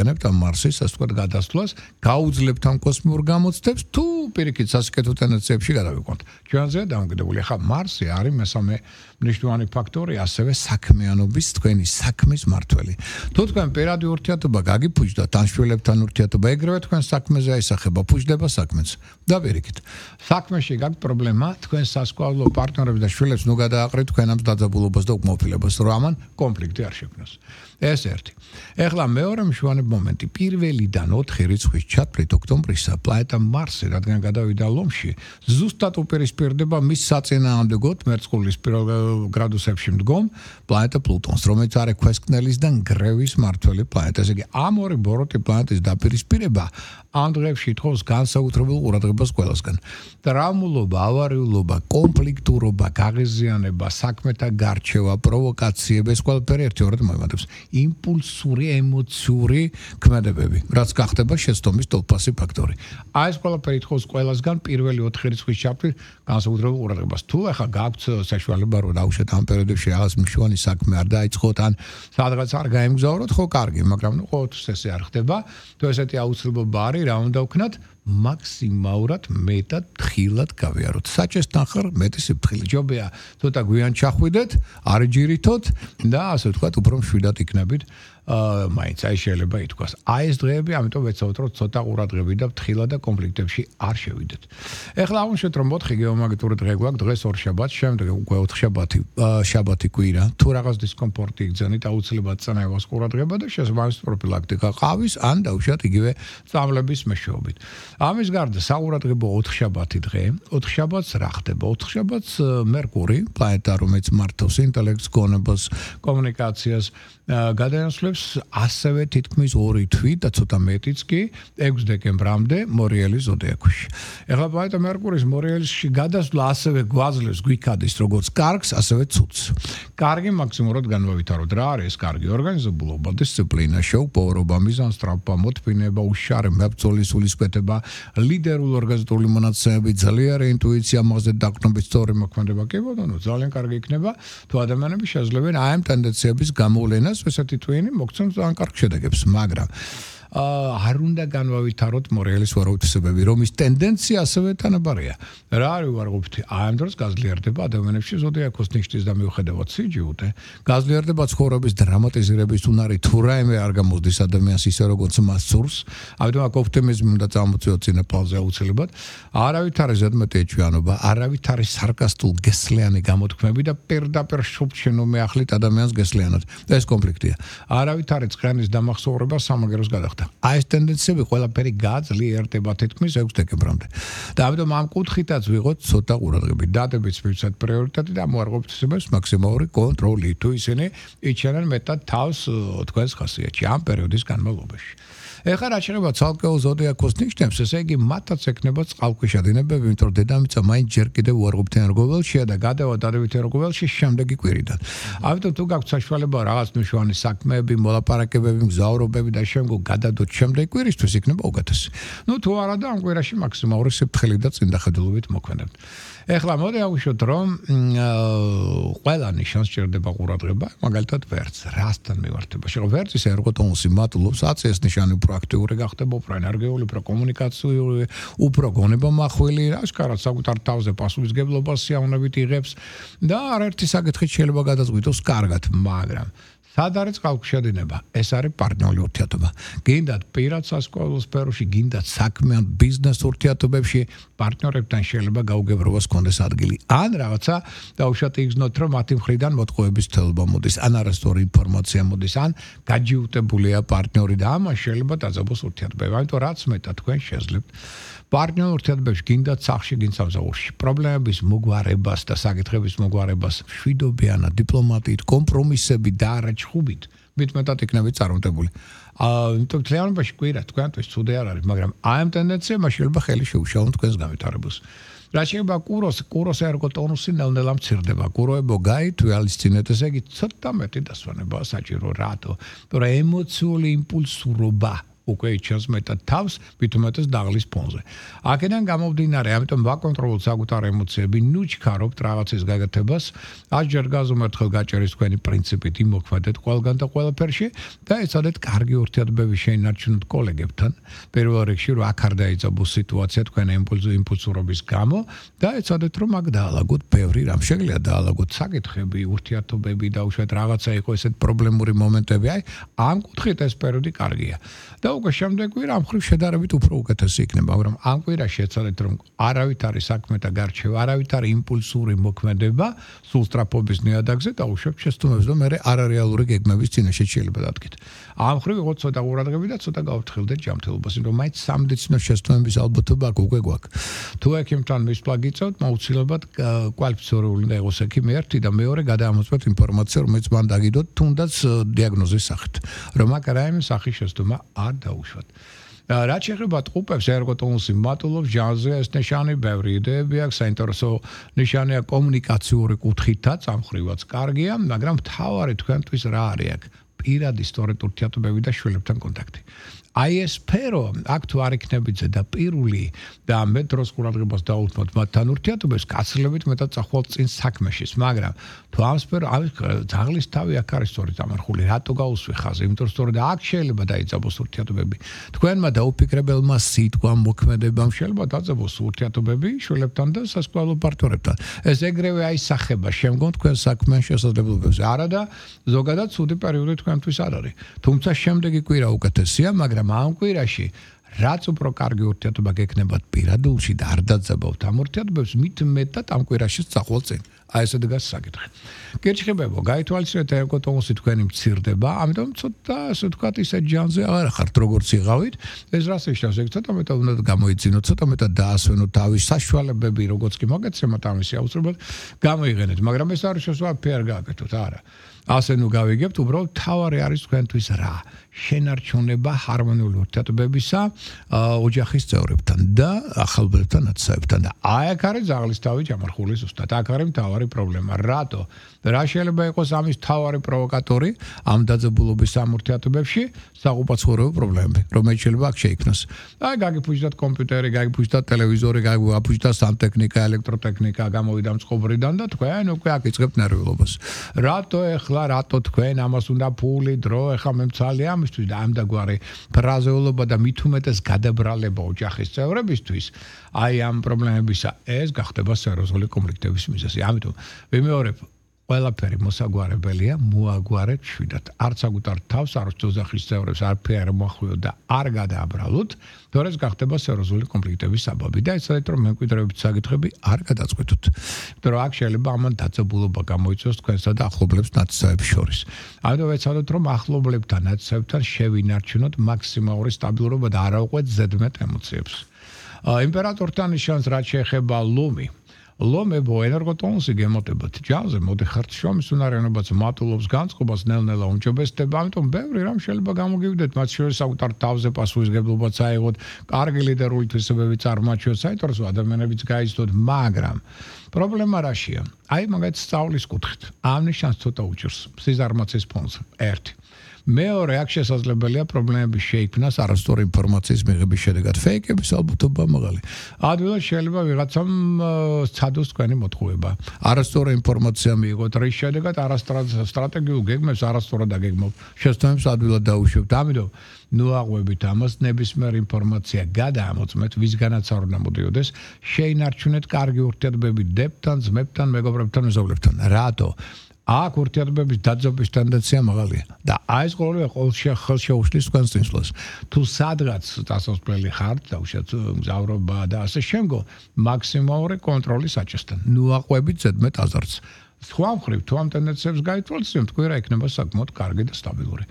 ვიყენებთ ამ მარსის ასე ვთქვათ გადასვლას, გაუძლებთ ამ კოსმიურ გამოცდებს თუ პირიქით სასიკეთო ტენდენციებში გადავიყვანთ. ჩვენზეა დამოკიდებული. ახლა მარსი არის მესამე მნიშვნელოვანი ფაქტორი, ასევე საქმიანობის თქვენი საქმის მართველი. თუ თქვენ პირადი ურთიერთობა გაგიფუჭდათ ან შვილებთან ურთიერთობა, ეგრევე თქვენ საქმეზე აისახება, ფუჭდება საქმეც. და პირიქით. საქმეში გაქვთ პრობლემა, თქვენ სასკოლო პარტნიორებს და შვილებს ნუ გადააყრით თქვენ ამ დაძაბულობას და უკმაყოფილებას, რომ ამან კონფლიქტი არ შექმნას. ეს ერთი. ეხლა მეორე მშვენიერი მომენტი, პირველიდან 4 რიცხვის ჩათვლით ოქტომბრისა, პლანეტა მარსი, რადგან გადავიდა ლომში, ზუსტად უპირისპირდება მის საწინააღმდეგოდ მერწყულის გრადუსებში მდგომ პლანეტა პლუტონს, რომელიც არის ქვესკნელის და ნგრევის მართველი პლანეტა. ესე იგი, ამ ორი ბოროტი პლანეტის დაპირისპირება ამ დღეებში ითხოვს განსაკუთრებულ ყურადღებას ყველასგან. ტრაუმულობა, ავარიულობა, კონფლიქტურობა, გაღიზიანება, საქმეთა გარჩევა, პროვოკაციები, ეს ყველაფერი ერთიორად მოიმატებს. იმპულსური, ემოციური ქმედებები, რაც გახდება შეცდომის თვალსაჩინო ფაქტორი. აი ეს ყველაფერი ითხოვს ყველასგან პირველი 4 რიცხვის ჩათვლით განსაკუთრებულ ყურადღებას. თუ ახლა გაქვთ საშუალება რომ დაუშვათ ამ პერიოდებში რაღაც მნიშვნელოვანი საქმე არ დაიწყოთ ან სადღაც არ გაემგზავროთ, ხო კარგი, მაგრამ ნუ ყოველთვის ესე არ ხდება. თუ ესეთი აუცილებლობა არის, რა უნდა ვქნათ? მაქსიმალურად მეტად თხილად გავიაროთ. საჭესთან ხარ მეტი სიფრთხილე. ჯობია ცოტა გვიან ჩახვიდეთ, არ ჯირითოთ და ასე ვთქვათ, უფრო მშვიდად იქნებით. მაინც აი შეიძლება ითქვას. აი ეს დღეები, ამიტომ ვეცადოთ რომ ცოტა ყურადღებით და თხილად და კონფლიქტებში არ შევიდეთ. ეხლა აღვნიშნეთ რომ 4 გეომაგნიტური დღე გვაქვს, დღეს ორშაბათს, შემდეგ უკვე 4 შაბათი კვირა. თუ რაღაც დისკომფორტი იგზავნით, აუცილებლად წანაევას ყურადღება და შესაბამისი პროფილაქტიკა ყავის ან დაუშვათ იგივე წამლების მეშვეობით. ამის გარდა საყურადღებო 4 შაბათი დღე, 4 შაბათს რა ხდება? 4 შაბათს მერკური, პლანეტა, რომელიც მართავს ინტელექტს, გონებას, კომუნიკაციას, გადაინაცვლებს ასევე თითქმის 2 თვით და ცოტა მეტიც კი 6 დეკემბრამდე მორიელის ზოდიაქოში. ეხლა პლანეტა მერკურის მორიელში გადასვლა ასევე გვაძლევს გვიქადის როგორც კარგს, ასევე ცუდს. კარგი მაქსიმალურად განვავითაროთ. რა არის ეს კარგი? ორგანიზებულობა, დისციპლინა, შეუპოვრობა, მიზანსწრაფვა, მოთმინება, უშარე მებრძოლის სულისკვეთება, ლიდერული ორგანიზატორული მონაცემები, ძლიერი ინტუიცია, მაღაზია დაყრდნობით სწორი მოქმედება. კი ბატონო, ძალიან კარგი იქნება, თუ ადამიანები შეძლებენ აი ამ ტენდენციების გამოვლენას, ესეთი ტვინი მოგცემს ძალიან კარგ შედეგებს, მაგრამ არ უნდა განვავითაროთ მორიელის ვარაუდისებები, რომ ის ტენდენცია ასევე თანაბარია. რა არის უარყოფითი? აი ამ დროს გაძლიერდება ადამიანებში ზოდიაქოს ნიშნის და მიუხედავად სიჯიუტე, გაძლიერდება ცხოვრების დრამატიზირების უნარი, თუ რაიმე არ გამოსდის ადამიანს ისე როგორც მას სურს. ამიტომ აქ ოპტიმიზმი უნდა წამოწიოთ წინაპალზე აუცილებლად. არავით არის ზედმეტი ეჩვიანობა, არავით არის სარკასტულ გესლიანი გამოთქმები და პირდაპირ შუბჩენო მეახლით ადამიანს გესლიანად. ეს კონფლიქტია. არავით არის წყანის დამახსოვრება სამაგეროს გადახდა. აი ეს ტენდენციები ყველაფერი გაძლიერდება თითქმის 6 დეკემბრამდე. და ამიტომ ამ კუთხითაც ვიღოთ ცოტა ყურადღებით. დადებიც მივცეთ პრიორიტეტი და მოარყოფითესებს მაქსიმალური კონტროლი, თუ ისინი იჩენენ მეტად თავს თქვენს ხასიათში ამ პერიოდის განმავლობაში. ეხლა რა შეიძლება ცალკეულ ზოდიაქოს ნიშნებს, ესე იგი მათაც ექნება წყალქვეშა დინებები, იმიტომ რომ დედამიწა მაინც ჯერ კიდევ უარყოფითიან რგოველშია და გადავა დადებითიან რგოველში შემდეგი კვირიდან. ამიტომ თუ გაქვთ საშუალება რაღაც მნიშვნელოვანი საქმეები, მოლაპარაკებები, მგზავრობები და შემდგომ გადადოთ შემდეგი კვირისთვის, იქნება უკეთესი. ნუ თუ არა და ამ კვირაში მაქსიმალური სიფრთხილე და წინდახედულობით მოქმედებთ. ეხლა მოდი აღვნიშნოთ, რომ ყველა ნიშანს სჭირდება ყურადღება, მაგალითად ვერც, რასთან მივართება. შეგო ვერცის ერგოტონუსი მატულობს, აწეს ნიშანი უფრო აქტიური გახდება, უფრო ენერგიული, უფრო კომუნიკაციური, უფრო გონებამახვილი, აშკარად საკუთარ თავზე პასუხისმგებლობას სიამოვნებით იღებს და არაერთი საკითხით შეიძლება გადაწყვიტოს კარგად, მაგრამ სად არის წყალქვეშა დინება? ეს არის პარტნიორული ურთიერთობა. გინდათ პირად სასკოლო სფეროში, გინდათ საქმე ან ბიზნეს ურთიერთობებში, პარტნიორებთან შეიძლება გაუგებრობას კონდეს ადგილი. ან რაღაცა დაუშვათ იგრძნოთ, რომ მათი მხრიდან მოტყუების თელობა მოდის, ან არასწორი ინფორმაცია მოდის, ან გაჯიუტებულია პარტნიორი და ამან შეიძლება დაძაბოს ურთიერთობები. ამიტომ რაც მეტად თქვენ შეძლებთ პარტნიორულ ურთიერთობებში, გინდათ სახლში, გინდათ სამსახურში, პრობლემების მოგვარებას და საკითხების მოგვარებას მშვიდობიანად, დიპლომატიით, კომპრომისებით და არა ჭხუბით, მეტად იქნებით წარმატებული. იმიტომ თლიანობაში კვირა თქვენთვის ცუდი არ არის, მაგრამ აი ამ ტენდენციებმა შეიძლება ხელი შეუშალონ თქვენს განვითარებას. რა შეიძლება კუროს ერგოტონუსი ნელ-ნელა მცირდება. კუროებო გაითვალისწინეთ, ესე იგი ცოტა მეტი დასვენებაა საჭირო, რატო? იმიტომ რომ ემოციული იმპულსურობა უკვე იჩენს მეტად თავს, მithumetes დაღლის ფონზე. აქედან გამომდინარე, ამიტომ ვაკონტროლოთ საკუთარ ემოციები, ნუ ჩქარობთ რაღაცის გაკეთებას, ასჯერ გაზომერთხელ გაჭერის თქვენი პრინციპით იმოქმედეთ ყველგან და ყველაფერში და ეცადეთ კარგი ურთიერთობები შეინარჩუნოთ კოლეგებთან. პირველ რიგში რომ აქ არ დაიწყოს სიტუაცია თქვენ იმპულსურობის გამო და ეცადეთ რომ აქ დაალაგოთ ბევრი რამ შეგიძლია დაალაგოთ საკითხები, ურთიერთობები და უშუალოდ რაღაცა იყო ესეთ პრობლემური მომენტები, აი ამ კუთხით ეს პერიოდი კარგია. და უკვე შემდეგ კვირა ამ ხრივ შედარებით უფრო უკეთესი იქნება, მაგრამ ამ კვირაში ეცადეთ რომ არავით არის საქმე და გარჩევა, არავით არის იმპულსური მოქმედება, სულ სწრაფობის ნიადაგზე და უშუალოდ შეცდომებს და მე არარეალური გეგმების წინაშე შეიძლება დადგეთ. ამ ხრივ იყო ცოტა ყურადღება და ცოტა გავფრთხილდეთ ჯანმრთელობას, იმიტომ რომ მაინც სამედიცინო შეცდომების ალბათობა უკვე გვაქვს. თუ ექიმთან მისვლა გიწევთ, აუცილებლად კვალიფიცირებული უნდა იყოს ექიმი ერთი და მეორე გადაამოწმოთ ინფორმაცია, რომელიც მან დაგიდოთ თუნდაც დიაგნოზის სახით, რომ აქ რაიმე სახის შეცდომა არ დაუშვათ. რაც შეეხება ტყუპებს, ერგოტონუსი მატულობს ჟანზე, ეს ნიშანი ბევრი იდეები აქვს, საინტერესო ნიშანია კომუნიკაციური კუთხითაც, ამ ხრივაც კარგია, მაგრამ მთავარი თქვენთვის რა არის აქ? პირადი სწორედ ურთიერთობები და შვილებთან კონტაქტი. აი ეს სფერო აქ თუ არ იქნებით ზედაპირული და მე დროს ყურადღებას დაუთმოთ მათთან ურთიერთობებს, გაცილებით მეტად წახვალ წინ საქმეშიც, მაგრამ თუ ამ სფერო ძაღლის თავი აქ არის სწორედ ამარხული, რატო გაუსვი ხაზი? იმიტომ რომ სწორედ აქ შეიძლება დაიწყოს ურთიერთობები. თქვენმა დაუფიქრებელმა სიტყვამ, მოქმედებამ შეიძლება დაიწყოს ურთიერთობები შვილებთან და სასწავლო პარტნიორებთან. ეს ეგრევე აისახება შემდგომ თქვენ საქმიან შესაძლებლობებზე. არა და ზოგადად ცუდი პერიოდი თქვენთვის არ არის. თუმცა შემდეგი კვირა უკეთესია, მაგრამ ამ კვირაში რაც უფრო კარგი ურთიერთობა გექნებათ პირადულში და არ დაძაბავთ ამ ურთიერთობებს, მით მეტად ამ კვირაში წახვალ წინ. აი ესე დგას საკითხი. გერჩხებებო, გაითვალისწინეთ ერგოტონუსი თქვენი მცირდება, ამიტომ ცოტა ასე ვთქვათ ისე ჯანზე აღარ ხართ როგორც იღავით. ეს რას ნიშნავს? ეგ ცოტა მეტად უნდა გამოიძინოთ, ცოტა მეტად დაასვენოთ თავის საშუალებები, როგორც კი მოგეცემათ ამისი აუცილებლად გამოიყენეთ, მაგრამ ეს არის შესაძლებელი ფერ გააკეთოთ, არა. ასე ნუ გავიგებთ, უბრალოდ თავარი არის თქვენთვის რა? შენარჩუნება ჰარმონიული ურთიერთობებისა ოჯახის წევრებთან და ახალბებთან ნაცნობებთან და აი აქ არის ძაღლის თავი ჯამარხული ზუსტად. აქ არის მთავარი პრობლემა. რატო? რა შეიძლება იყოს ამის მთავარი პროვოკატორი ამ დაძაბულობის ამ ურთიერთობებში? საყოფაცხოვრებო პრობლემები, რომელიც შეიძლება აქ შეიქმნას. აი გაგიფუჭდათ კომპიუტერი, გაგიფუჭდათ ტელევიზორი, გაგიფუჭდათ სანტექნიკა, ელექტროტექნიკა, გამოვიდა მწყობრიდან და თქვენ უკვე აქ იწყებთ ნერვიულობას. რატო თქვენ ამას უნდა ფული, დრო, ეხა მემცალია ამისთვის და ამ დაგვარი ფრაზეულობა და მithumetes გადაბრალება ოჯახის წევრებისთვის, აი ამ პრობლემებისა ეს გახდება სერიოზული კონფლიქტების მიზეზი. ამიტომ ვიმეორებ ყველაფერი მოსაგვარებელია, მოაგვარეთ შვიდად. არც საკუთარ თავს, არც ოჯახის წევრებს არაფერი არ მოახვილოთ და არ გადააბრალოთ, თორე ეს გახდება სერიოზული კონფლიქტების საბაბი და ეცადეთ რომ მემკვიდრეობის საკითხები არ გადაწყვეტოთ. იმიტომ რომ აქ შეიძლება ამან დაძაბულობა გამოიწვიოს თქვენსა და ახლობლებს ნაცნობებს შორის. ამიტომ ეცადეთ რომ ახლობლებთან ნაცნობებთან შევინარჩუნოთ მაქსიმალური სტაბილურობა და არ ავყვეთ ზედმეტ ემოციებს. იმპერატორთან ნიშანს რაც შეეხება ლომი. ლომებო ენერგოტონუსი გემოტებათ ჯანზე მოდიხართ შრომის უნარიანობაც მატულობს განწყობას ნელ-ნელა უმჯობესდება, ამიტომ ბევრი რამ შეიძლება გამოგივიდეთ, მათ შორის საკუთარ თავზე პასუხისმგებლობაც აიღოთ, კარგი ლიდერული თვისებები წარმოაჩიოთ, საინტერესო ადამიანებიც გაიცნოთ, მაგრამ პრობლემა რაშია? აი მაგათ სწავლის კუთხით. ამ ნიშანს ცოტა უჭირს სიზარმაცის ფონზე. ერთი. მეორე აქ შესაძლებელია პრობლემები შეიქმნას არასწორი ინფორმაციის მიღების შედეგად. ფეიკების ალბათობა მაღალი. ადვილად შეიძლება ვიღაცამ სცადოს თქვენი მოთხოვება. არასწორი ინფორმაცია მიიღოთ, რის შედეგად არასტრატეგიულ გეგმებს არასწორად აგეგმავთ. შეცდომებს ადვილად დაუშვებთ. ამიტომ ნუ აღვებით ამას, ნებისმიერ ინფორმაცია გადაამოწმეთ, ვისგანაც არ უნდა მოდიოდეს, შეინარჩუნეთ კარგი ურთიერთობები დებთან, ძმებთან, მეგობრებთან, მეზობლებთან. რატო? აქ ურთიერთობების დაძაბვის ტენდენცია მაღალია და აი ეს ყოველშე ხელშეუშლის თქვენს წინსვლას. თუ სადღაც დასასვლელი ხართ, დაუშვათ მგზავრობა და ასე შემდგომ, მაქსიმალური კონტროლი საჭესთან. ნუ აყვებით ზედმეტ აზარს. სხვა მხრივ, თუ ამ ტენდენციებს გაითვალისწინებთ, კვირა იქნება საკმაოდ კარგი და სტაბილური.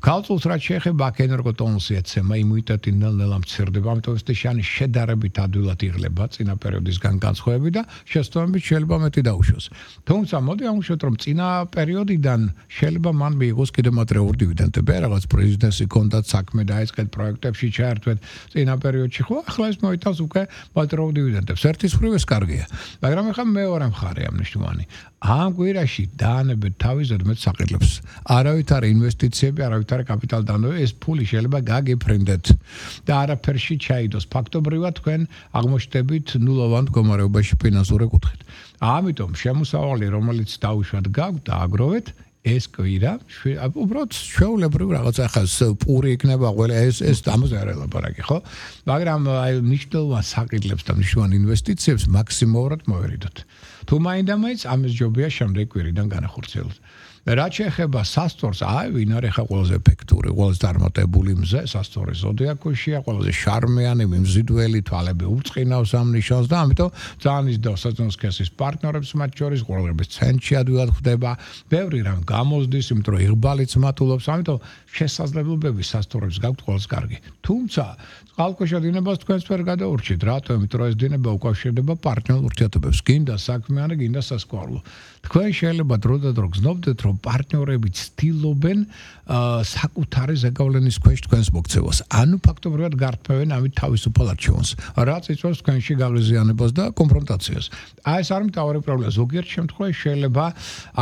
ქალწულს რაც შეეხება აქ ენერგოტონუსი ეცემა, იმუნიტეტი ნელ-ნელა მცირდება, ამიტომ ეს ნიშანი შედარებით ადვილად იღლება წინა პერიოდისგან განსხვავებით და შეცდომებით შეიძლება მეტი დაუშვოს. თუმცა მოდი ამუშავოთ, რომ წინა პერიოდიდან შეიძლება მან მიიღოს კიდევ მატერიალური დივიდენდები, რაღაც პრეზიდენტი კონდათ საქმე დაიწყეთ პროექტებში ჩაერთვეთ წინა პერიოდში, ხო, ახლა ეს მოიტანს უკვე მატერიალურ დივიდენდებს. ერთის მხრივ ეს კარგია, მაგრამ ახლა მეორე მხარე ამ ნიშნავანი. ამ კვირაში დაანებეთ თავის ზედმეტ საყიდლებს. არავითარი ინვესტიციები, არავითარი კაპიტალდანობა, ეს ფული შეიძლება გაგიფრინდეთ და არაფერში ჩაიდოს. ფაქტობრივად თქვენ აღმოჩნდებით ნულოვან მდგომარეობაში ფინანსური კუთხით. ამიტომ შემოსავალი, რომელიც დაუშვათ გაქვთ და აგროვეთ, ეს კვირა უბრალოდ ჩვეულებრივ რაღაცა ხას პური იქნება ყველა ეს ამაზე არ ელაპარაკი, ხო? მაგრამ აი მნიშვნელოვან საყიდლებს და მნიშვნელოვან ინვესტიციებს მაქსიმალურად მოვერიდოთ. თუ მაინდა-მაინც ამის ჯობია შემდეგ კვირიდან განახორციელოთ. რაც შეეხება სასტორს, ვინ არის ხა ყველაზე ეფექტური, ყველაზე წარმატებული მზე, სასტორის ზოდიაქოშია, ყველაზე შარმიანი, მიმზიდველი, თვალები უწყინავს ამ ნიშანს და ამიტომ ძალიან ისდავს საწონს კესის პარტნიორებს მათ შორის, ყურადღების ცენტრში ადვილად ხდება, ბევრი რამ გამოზდის, იმიტომ რომ იღბალიც მატულობს, ამიტომ შესაძლებლობები სასტორებს გაქვთ ყველაზე კარგი. თუმცა წყალქვეშა დინებას თქვენს ვერ გადაურჩით, რატომ? იმიტომ რომ ეს დინება უკავშირდება პარტნიორულ ურთიერთობებს, გინდა საქმიანი, გინდა სასკოლო. თქვენ შეიძლება დრო და დრო გზნობდეთ, რომ პარტნიორები ცდილობენ საკუთარი ზეგავლენის ქვეშ თქვენს მოქცევას. ანუ ფაქტობრივად გართმევენ ამით თავისუფალ არჩევანს, რაც იწვევს თქვენში გაღიზიანებას და კონფრონტაციას. ეს არის მთავარი პრობლემა. ზოგიერთ შემთხვევაში შეიძლება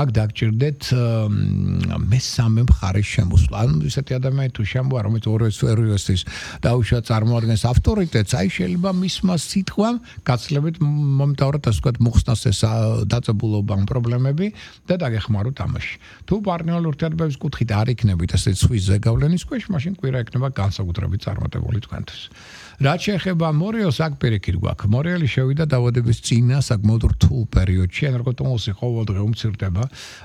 აქ დაგჭირდეთ მესამე მხარის შემოსვლა. ანუ ისეთი ადამიანი თუ შემოვა, რომელიც ორვესთვის დაუშვათ წარმოადგენს ავტორიტეტს, აი შეიძლება მისმა სიტყვამ გაცლებით მომთავრად ასე ვთქვათ მოხსნას ეს დაწებულობა ამ პრობლემები და დაგეხმაროთ ამაში. თუ პარტნიორულ ურთიერთობების კუთხით არ იქნებით ასეთ სხვის ზეგავლენის ქვეშ, მაშინ კვირა იქნება განსაკუთრებით წარმატებული თქვენთვის. რაც შეეხება მორიელს, აქ პირიქით გვაქვს. მორიელი შევიდა დაავადების წინა საკმაოდ რთულ პერიოდში, ენერგოტონუსი ყოველდღე უმცირდება.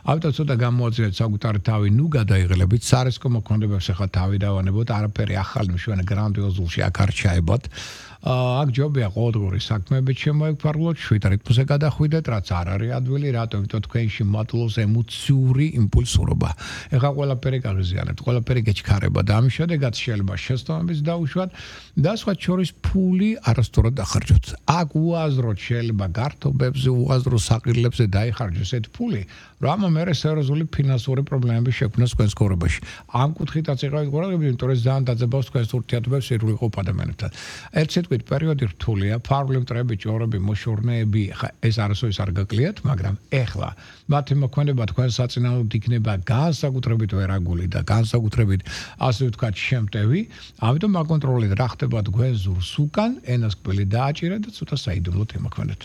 ამიტომ ცოტა გამოაძლიერეთ საკუთარი თავი, ნუ გადაიღლებით, სარისკო მოქმედებებს ახლა თავი დავანებოთ, არაფერი ახალი მშვენიერ გრანდიოზულში აქ არ ჩაებოთ. აქ ჯობია ყოველდღიური საქმეებით შემოიფარგლოთ, შვიდ რიტმზე გადახვიდეთ, რაც არ არის ადვილი, რატომ? იმიტომ თქვენში მატულობს ემოციური იმპულსურობა. ეხლა ყველაფერი გაღიზიანებთ, ყველაფერი გეჩქარება და ამის შედეგად შეიძლება შეცდომებიც დაუშვათ და სხვა შორის ფული არასწორად დახარჯოთ. აქ უაზროდ შეიძლება გართობებზე, უაზრო საყიდლებზე დაიხარჯოს ეს ფული, რომ ამერე სერიოზული ფინანსური პრობლემები შექმნას თქვენს ცხოვრებაში. ამ კუთხითაც იყავით ყურადღებით, იმიტომ რომ ძალიან დაძაბავს თქვენს ურთიერთობებს სირულიყო ადამიანებთან. ერთ სიტყვით პერიოდი რთულია, ფარული მტრები, ჭორები, მოშორნეები, ეს არასოდეს არ გაკლიათ, მაგრამ ეხლა მათი მოქმედება თქვენ საწინააღმდეგოდ იქნება განსაკუთრებით ვერაგული და განსაკუთრებით ასე ვთქვათ შემტევი, ამიტომ აკონტროლეთ რა ხდება თქვენ ზურს უკან, ენას კბილი დააჭირეთ და ცოტა საიდუმლოდ იმოქმედეთ.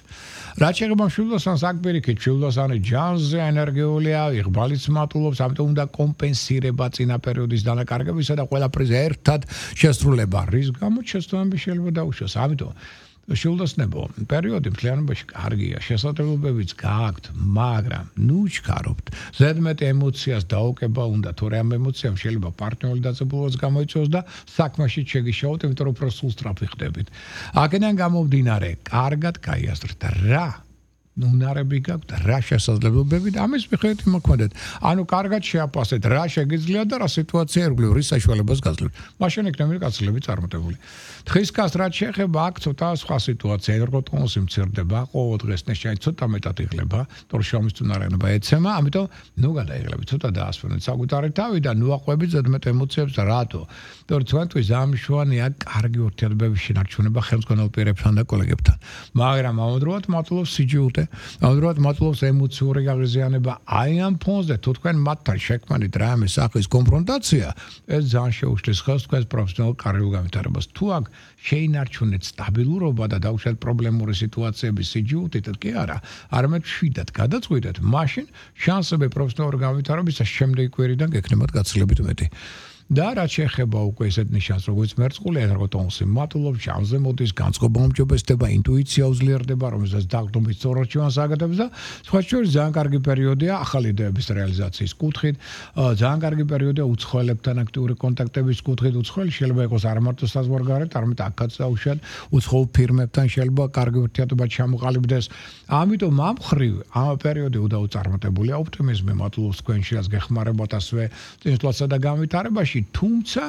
რაც შეეხება მშვილდოსანს, აქ პირიქით, მშვილდოსანი ჯანზე ენერგიულია, იღბალიც მატულობს, ამიტომ უნდა კომპენსირება წინა პერიოდის დანაკარგებისა და ყველაფერზე ერთად შესრულება, რის გამოც შეცდომები შეიძლება დაუშვას. ამიტომ შვილდოსნებო, პერიოდი მთლიანობაში კარგია, შესაძლებლობებიც გააქვთ, მაგრამ ნუ ჩქარობთ. ზედმეტ ემოციას დაუკება უნდა, თორე ამ ემოციამ შეიძლება პარტნიორული დაძაბულობაც გამოიწვიოს და საქმეში შეგიშაოთ, იმიტომ რომ უფრო სულ სწრაფი ხდებით. აქედან გამომდინარე, კარგად გაიაზრეთ რა უნარები გაქვთ, რა შესაძლებლობები და ამის მიხედვით მოქმედეთ. ანუ კარგად შეაფასეთ, რა შეგიძლიათ და რა სიტუაცია ერგვლივ, რის საშუალებას გაძლევთ. მაშინ იქნება გაცილებით წარმატებული. თხის კას რაც შეეხება, აქ ცოტა სხვა სიტუაცია, ენერგოტონუსი მცირდება, ყოველ დღეს ნეშანი ცოტა მეტად იღლება, თორე შრომის წუნარიანობა ეცემა, ამიტომ ნუ გადაიღლებით, ცოტა დაასვენეთ საკუთარი თავი და ნუ აყვებით ზედმეტ ემოციებს და რატო? თორე თქვენთვის ამშვენია კარგი ურთიერთობების შენარჩუნება ხელმძღვანელ პირებთან და კოლეგებთან. მაგრამ ამავდროულად მატულობს სიჯულტე, ამავდროულად მატულობს ემოციური გაღიზიანება. აი ამ ფონზე თუ თქვენ მათთან შექმნით რამე სახის კონფრონტაცია, ეს ძალიან შეუშლის ხელს თქვენს პროფესიონალურ კარიერულ განვითარებას. თუ აქ შეინარჩუნეთ სტაბილურობა და დაუშვათ პრობლემური სიტუაციების სიჯულტით კი არა, არამედ შვიდად გადაწყვიტეთ, მაშინ შანსები პროფესიონალურ განვითარებისა შემდეგი კვირიდან გექნებათ გაცილებით მეტი. და რაც შეეხება უკვე ესეთ ნიშანს, როგორც მერწყული ენერგოტონუსი მატულობს, ჟამზე მოდის, განწყობა უმჯობესდება, ინტუიცია უძლიერდება, რომელსაც დაგდომით სწორად ჩევანს აკეთებს და სხვა შორის ძალიან კარგი პერიოდია ახალი იდეების რეალიზაციის კუთხით, ძალიან კარგი პერიოდია უცხოელებთან აქტიური კონტაქტების კუთხით, უცხოელი შეიძლება იყოს არ მარტო საზღვარგარეთ, არამედ აქაც დაუშვათ, უცხოელ ფირმებთან შეიძლება კარგი ურთიერთობა ჩამოყალიბდეს. ამიტომ ამ მხრივ ამ პერიოდი უდაუწარმოებულია ოპტიმიზმი მატულობს თქვენში, რაც გეხმარებათ ასევე წინსვლასა და განვითარებაში. თუმცა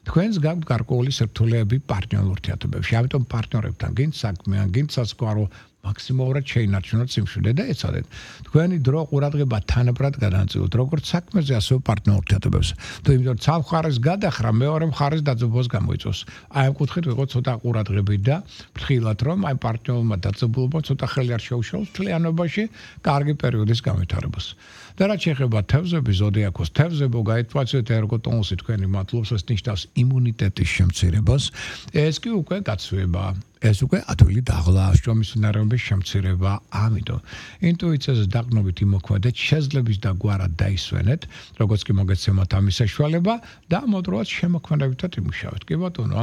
თქვენს გაქვთ გარკვეული სირთულეები პარტნიორულ ურთიერთობებში. ამიტომ პარტნიორებთან გინდ საქმე, გინდ სასკარო მაქსიმალურად შეინარჩუნოთ სიმშვიდე და ეცადეთ თქვენი დრო ყურადღება თანაბრად განაწილოთ როგორც საქმეზე ასევე პარტნიორ ურთიერთობებზე თუ იმიტომ ცალ მხარეს გადახრა მეორე მხარეს დაძაბულობას გამოიწვევს აი ამ კუთხით ვიყოთ ცოტა ყურადღებით და ფრთხილად რომ აი პარტნიორმა დაძაბულობა ცოტა ხელი არ შეუშალოს მთლიანობაში კარგი პერიოდის განვითარებას და რაც შეეხება თევზების ზოდიაქოს თევზებო გაითვალისწინეთ ერგოტონუსი თქვენი მატლობს ეს ნიშნავს იმუნიტეტის შემცირებას ეს კი უკვე გაცვება ეს უკვე ადვილი დაღლა შრომის უნარების შემცირება ამიტომ ინტუიციაზე დაყრდნობით იმოქმედეთ შეძლების და გვარად დაისვენეთ როგორც კი მოგეცემათ ამის საშუალება და მოდროულად შემოქმედებითად იმუშავეთ კი ბატონო